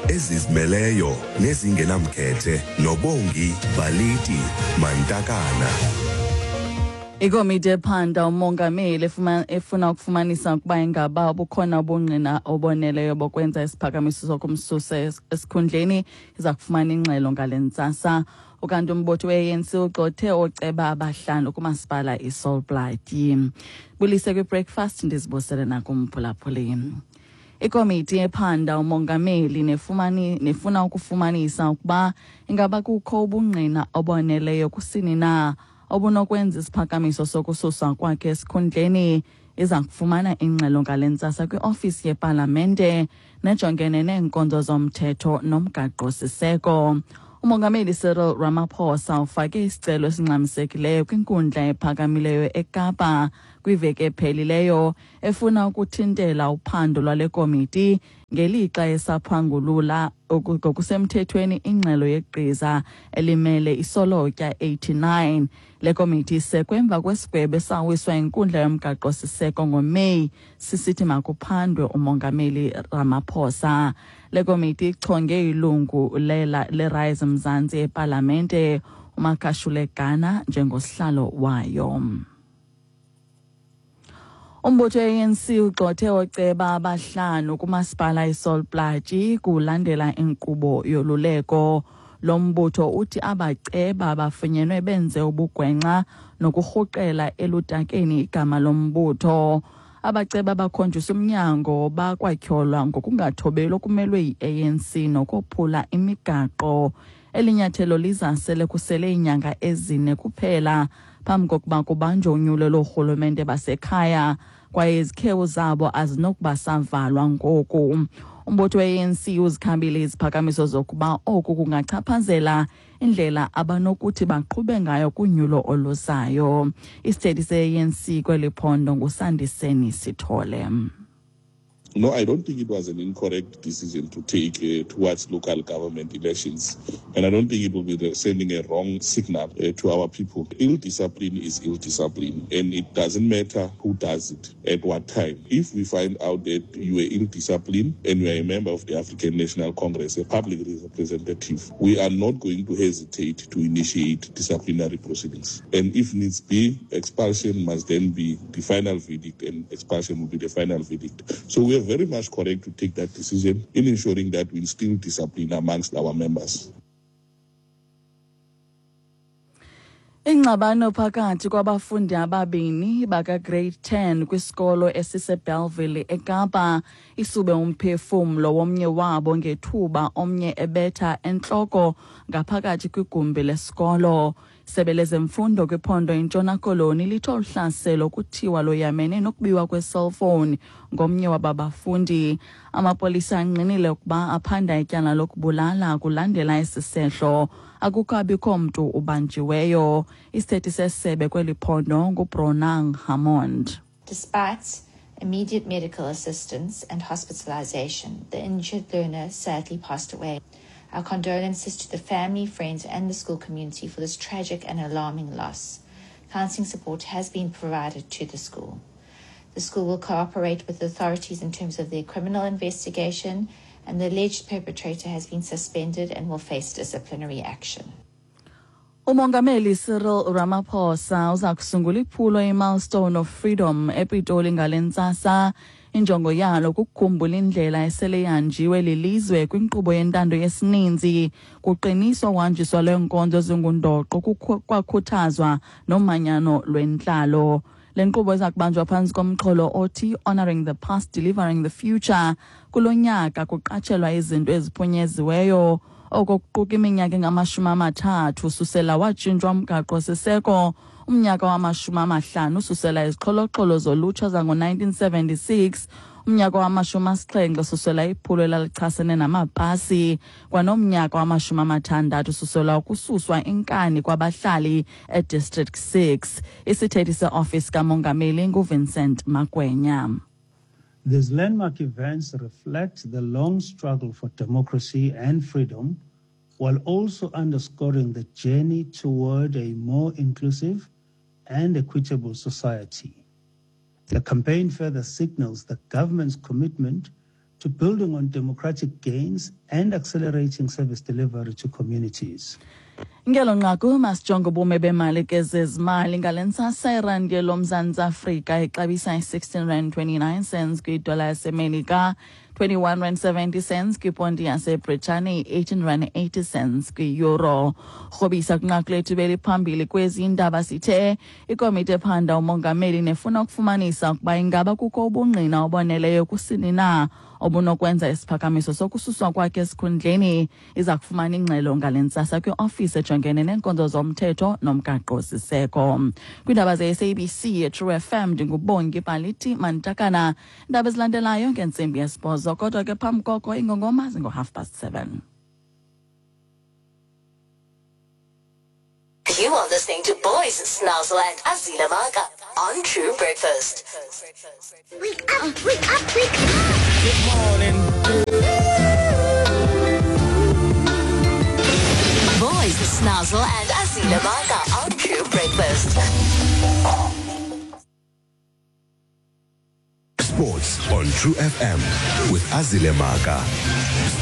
Ezizimeleyo nezingenamkhethe noBongi Baliti Mantakana. Ikomiti ephanda umongameli efuna ukufumanisa ukuba ingaba bukhona ubungqina oboneleyo bokwenza isiphakamiso sokumsusa esikhundleni iza kufumana ingxelo ngale ntsasa. Ukanti umbutho we-ANC ugxothe ooceba abahlanu kumasipala iSol Plaatje. Bulise kwi-breakfast, ndizibusele nakumphulaphuli. Ikomiti ephanda umongameli nefuna ukufumanisa ukuba ingaba kukho ubungqina oboneleyo kusini na obunokwenza isiphakamiso sokususwa kwakhe esikhundleni iza kufumana ingxelo ngale ntsasa kwiofisi yepalamente nejongene neenkonzo zomthetho nomgaqo-siseko. Umongameli Cyril Ramaphosa ufake isicelo esingxamisekileyo kwinkundla ephakamileyo eKapa kwiveki ephelileyo efuna ukuthintela uphando lwale komiti ngelixa esaphangulula ngokusemthethweni ingxelo yegqiza elimele isolotya 89. Le komiti isekwe emva kwesigwebo esawiswa inkundla yomgaqo-siseko ngoMeyi sisithi makuphandwe umongameli Ramaphosa. Le komiti ichonge ilungu leRise Mzansi epalamente uMakashule Gana njengosihlalo wayo. Umbutho we-ANC ugxothe ooceba abahlanu kumasipala iSol Plaatje kulandela inkqubo yoluleko. Lo mbutho uthi abaceba bafunyenwe benze ubugwenxa nokurhuqela elutakeni igama lombutho. Abaceba bakhonjiswa umnyango bakwatyholwa ngokungathobeli okumelwe yi-ANC nokophula imigaqo. Eli nyathelo liza sele kusele iinyanga ezine kuphela phambi kokuba kubanjwe unyulo loorhulumente basekhaya, kwaye izikhewu zabo azinokuba savalwa ngoku. Umbutho we-ANC uzikhambile iziphakamiso zokuba oku kungachaphazela indlela abanokuthi baqhube ngayo kunyulo oluzayo. Isithethi se-ANC kweli phondo nguSandiseni Sithole. No, I don't think it was an incorrect decision to take towards local government elections. And I don't think it will be sending a wrong signal to our people. Ill discipline is ill discipline, and it doesn't matter who does it at what time. If we find out that you were ill disciplined and you are a member of the African National Congress, a public representative, we are not going to hesitate to initiate disciplinary proceedings. And if needs be, expulsion must then be the final verdict, and expulsion will be the final verdict. So we are very much correct to take that decision in ensuring that we instill discipline amongst our members. Ingxabano phakathi kwabafundi ababini baka-grade 10 kwisikolo esiseBellville eKapa isube umphefumlo womnye wabo ngethuba omnye ebetha entloko ngaphakathi kwigumbi lesikolo. Isebe lezemfundo kwiphondo iNtshona Koloni lithe olu hlaselo kuthiwa loyamene nokubiwa kwe-cellphone ngomnye waba bafundi. Amapolisa angqinile ukuba aphanda ityala lokubulala kulandela esi sehlo. Akukabikho mntu ubanjiweyo. Isithethi sesebe kweli phondo nguBronagh Hammond. Despite immediate medical assistance and hospitalization, the injured learner sadly passed away. Our condolences to the family, friends, and the school community for this tragic and alarming loss. Counseling support has been provided to the school. The school will cooperate with the authorities in terms of their criminal investigation, and the alleged perpetrator has been suspended and will face disciplinary action. Umongameli Cyril Ramaphosa uza kusungula iphulo iMilestone of Freedom ePitoli ngale ntsasa. Injongo yalo kukukhumbula indlela esele ihanjiwe lilizwe kwinkqubo yentando yesininzi, kuqiniswa uhanjiswa lweenkonzo ezingundoqo, kwakhuthazwa nomanyano lwentlalo. Le nkqubo iza kubanjwa phantsi komxholo othi Honoring the Past, Delivering the Future. Kulo nyaka kuqatshelwa izinto eziphunyeziweyo, oko kuquka iminyaka engama-30 ususela watshintshwa umgaqo-siseko, umnyaka wama-50 ususela izixholoxholo zolutsha zango-1976, umnyaka wama-70 ususela iphulo elalichasene namapasi, kwanomnyaka wama-60 ususela ukususwa inkani kwabahlali eDistrict 6. Isithethi seofisi kamongameli nguVincent Magwenya. These landmark events reflect the long struggle for democracy and freedom, while also underscoring the journey toward a more inclusive and equitable society. The campaign further signals the government's commitment to building on democratic gains and accelerating service delivery to communities. Ngelo nqaku, masijonge ubume bemali kezezimali ngale ntsasa. Irandi yeloMzantsi Afrika ixabisa i-R16.29 kwidola yaseMelika, R21.70 kwiponti yaseBritani, R18.80 kwi-euro. Rhobisa kwinqaku lethu beliphambili kwezi ndaba, sithe ikomiti ephanda umongameli nefuna ukufumanisa ukuba ingaba kukho ubungqina oboneleyo kusini na obunokwenza isiphakamiso sokususwa kwakhe esikhundleni iza kufumana ingxelo ngale ntsasa kwiofisi ejongene neenkonzo zomthetho nomgaqo-siseko. Kwiindaba ze-SABC True FM, ndinguBongi Baliti Mantakana. Iindaba ezilandelayo ngentsimbi yesibhozo, kodwa ke phambi koko ingongoma zingo-7:30. You are listening to Boys Snazzle and Azila Maka on True Breakfast. Wake up, wake up, wake up. Good morning. Boys Snazzle and Azila Maka on True Breakfast. Sports on True FM with Azile Maka.